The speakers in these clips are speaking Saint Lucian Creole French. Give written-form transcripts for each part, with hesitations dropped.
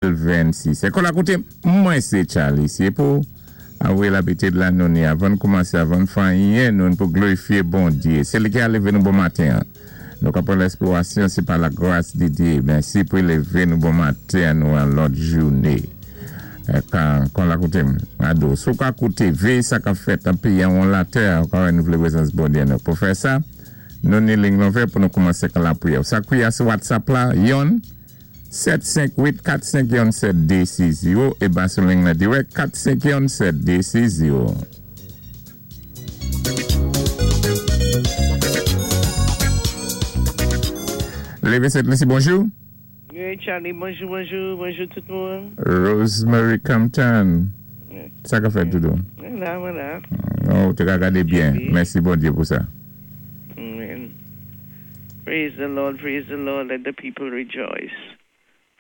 2026. Ékòl la koté mwen sé Charlie. Sé pou avwé labitid la nou ni avan n koumansé avan n fè anyen nou n pou glorifié Bondyé. Sé li ki a lévé nou bon maten an. Nou ka pran lèspirasyon sé pa la gras de Dyé. Mèsi pou lévé nou bon maten an nou an lòt jouné. Kan kon la koute m ado. Si w ka koute véyé sa kap fèt an péyi an won latè a ou ka wè nou vlé prezans Bondyé nou. Pou fè sa nou ni ling lonvè pou nou koumansé kan lapriyè. Sa kouyè a sou WhatsApp la yonn. 7 5 8 4 5 yon 7 2 6 0 e ba sou ling nan dirèk 4 5 yon 7 2 6 0. Leve 7 Lucie bonjou. Wi Charlie bonjou bonjou bonjou tout moun. Rosemary Compton sa kap fèt doudou? Mwen la mwen la. Ou te ka gade byen mèsi Bondye pou sa. Amen. Praise the Lord, praise the Lord, let the people rejoice.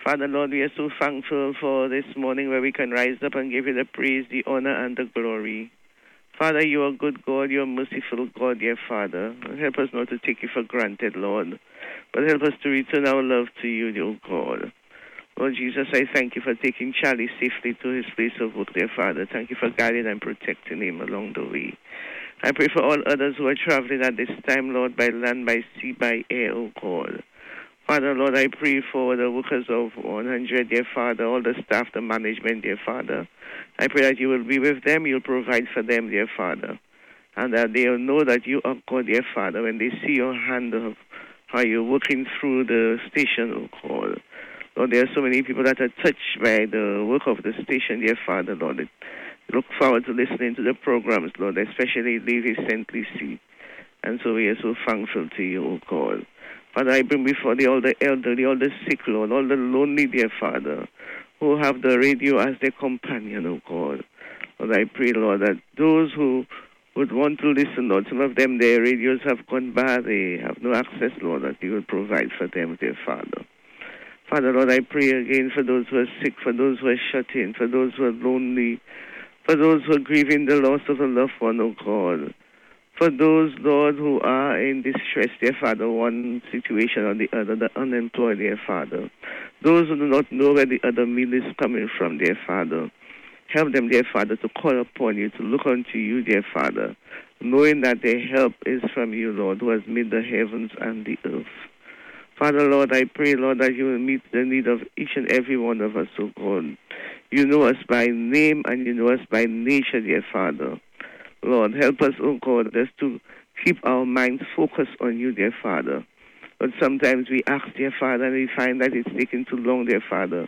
Father Lord, we are so thankful for this morning where we can rise up and give you the praise, the honor, and the glory. Father, you are good God, you are merciful God, dear Father. Help us not to take you for granted, Lord, but help us to return our love to you, dear God. Lord Jesus, I thank you for taking Charlie safely to his place of work, dear Father. Thank you for guiding and protecting him along the way. I pray for all others who are traveling at this time, Lord, by land, by sea, by air, oh God. Father, Lord, I pray for the workers of 100, dear Father, all the staff, the management, dear Father. I pray that you will be with them, you'll provide for them, dear Father. And that they'll know that you are God, dear Father, when they see your hand of how you're working through the station, oh God. Lord, there are so many people that are touched by the work of the station, dear Father, Lord. They look forward to listening to the programs, Lord, especially Levi St. Lucie. And so we are so thankful to you, O God. Father, I bring before thee all the elderly, all the sick, Lord, all the lonely, dear Father, who have the radio as their companion, O God. Lord, I pray, Lord, that those who would want to listen, Lord, some of them, their radios have gone bad, they have no access, Lord, that you will provide for them, dear Father. Father, Lord, I pray again for those who are sick, for those who are shut in, for those who are lonely, for those who are grieving the loss of a loved one, O God. For those, Lord, who are in distress, dear Father, one situation or the other, the unemployed, dear Father. Those who do not know where the other meal is coming from, dear Father. Help them, dear Father, to call upon you, to look unto you, dear Father, knowing that their help is from you, Lord, who has made the heavens and the earth. Father, Lord, I pray, Lord, that you will meet the need of each and every one of us, O God. You know us by name and you know us by nature, dear Father. Lord, help us, O God, just to keep our minds focused on you, dear Father. But sometimes we ask, dear Father, and we find that it's taking too long, dear Father.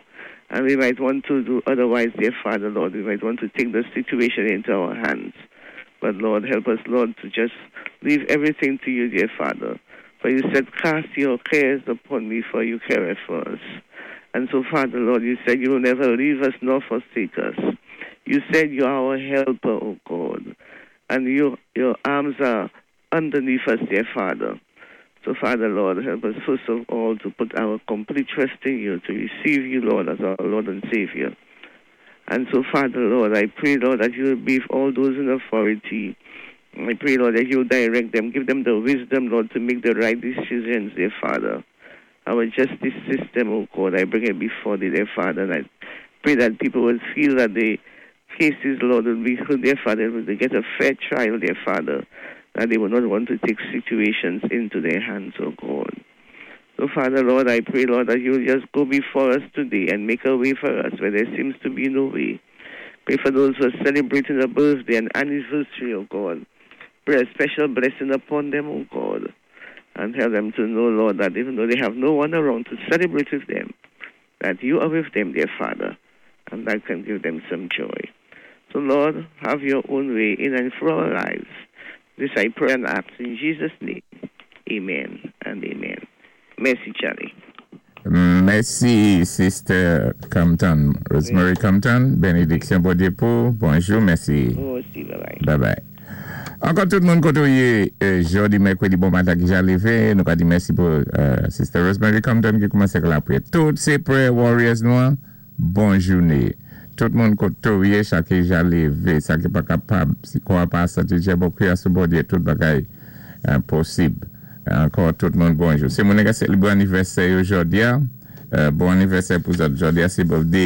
And we might want to do otherwise, dear Father, Lord. We might want to take the situation into our hands. But Lord, help us, Lord, to just leave everything to you, dear Father. For you said, Cast your cares upon me, for you careth for us. And so, Father, Lord, you said you will never leave us nor forsake us. You said you are our helper, O God. And you, your arms are underneath us, dear Father. So, Father, Lord, help us first of all to put our complete trust in you, to receive you, Lord, as our Lord and Savior. And so, Father, Lord, I pray, Lord, that you will be with all those in authority. I pray, Lord, that you will direct them, give them the wisdom, Lord, to make the right decisions, dear Father. Our justice system, oh God, I bring it before thee, dear Father, and I pray that people will feel that the cases, Lord, will be heard, dear Father, will they get a fair trial, dear Father, that they will not want to take situations into their hands, oh God. So, Father, Lord, I pray, Lord, that you will just go before us today and make a way for us where there seems to be no way. Pray for those who are celebrating a birthday and anniversary, oh God. Pray a special blessing upon them, oh God. And help them to know, Lord, that even though they have no one around to celebrate with them, that you are with them, dear Father, and that can give them some joy. So, Lord, have your own way in and through our lives. This I pray and ask in Jesus' name. Amen and amen. Mèsi, Charlie. Mèsi, Sister Compton. Rosemary Compton, benediksyon Bondye pou. Bonjou, mèsi. Ou osi, bye bye. Bye bye. Ankò tout moun kote ou yé, jodi mèkredi bon maten ki ja lévé, nou ka di mèsi pou Sister Rosemary Compton ki koumansé ak lapwiyè. Tout sé prayer warriors nou an, bon jouné. Tout moun kote ou yé, sa ki ja lévé, sa ki pa kapab, si kò a pa santi djè bon kwiyans sou Bondye, tout bagay posib. Ankò tout moun bonjou. Si moun ki selebre anivèsè yo jodi a, Bon anivèsè pou zòt. Jòdi-a sé birthday.